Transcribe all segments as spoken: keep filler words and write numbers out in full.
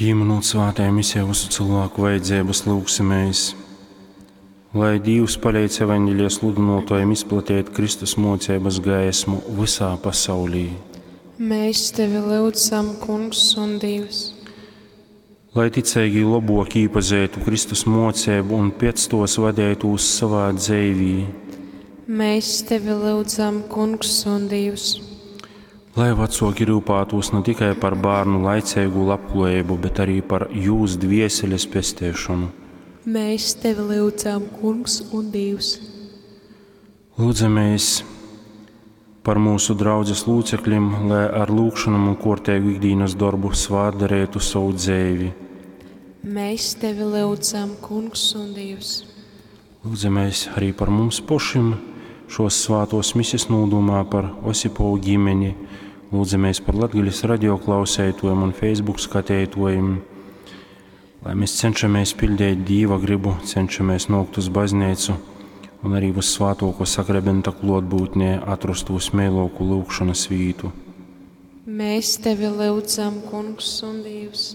Pīminūt svātajā misē vysu cilvēku vajadzības, lūgsimies, lai Dīvs paleidz evaņģelija sludynōtājiem izplatīt Kristus mōceibas gaismu vysā pasaulī. Mēs tevi lyudzam, Kungs un Dievs. Lai ticeigī lobok īpazeitu Kristus mōceibu un pēc tos vadeitūs savā dzeivī. Mēs tevi lyudzam, Kungs un Dievs. Lai vecoki rūpētos ne tikai par bērnu laicīgu labklājību, bet arī par jūs dvieseles pestēšanu. Mēs tevi lyudzam, Kungs un Dievs. Lūdzamies par mūsu draudzes locekļiem, lai ar lūgšanām un kārtīgu ikdienas darbu svātdarētu savu dzīvi. Mēs tevi lyudzam, Kungs un Dievs. Lūdzamies arī par mums pašiem šos svātos mises nūdomā par Osipovu ģimeni. Lūdzamies par Latgaļas radioklausētojiem un Facebook skatētojiem, lai mēs cenšamies pildīt Dīva gribu, cenšamies nokt uz baznīcu un arī uz svātoko sakramenta klotbūtnē atrast uz mēloku lūgšanas vītu. Mēs tevi lyudzam, Kungs un Dievs.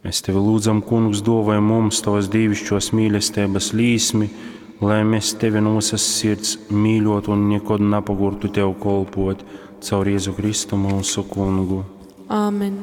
Mēs tevi lūdzam, Kungs, dāvāj mums tavas dīvišķos mīlestības līsmi, lai mēs tevi no visas sirds mīļotu un nekad nepagurtu tev kolpot caur Jēzu Kristu mūsu kungu. Āmen.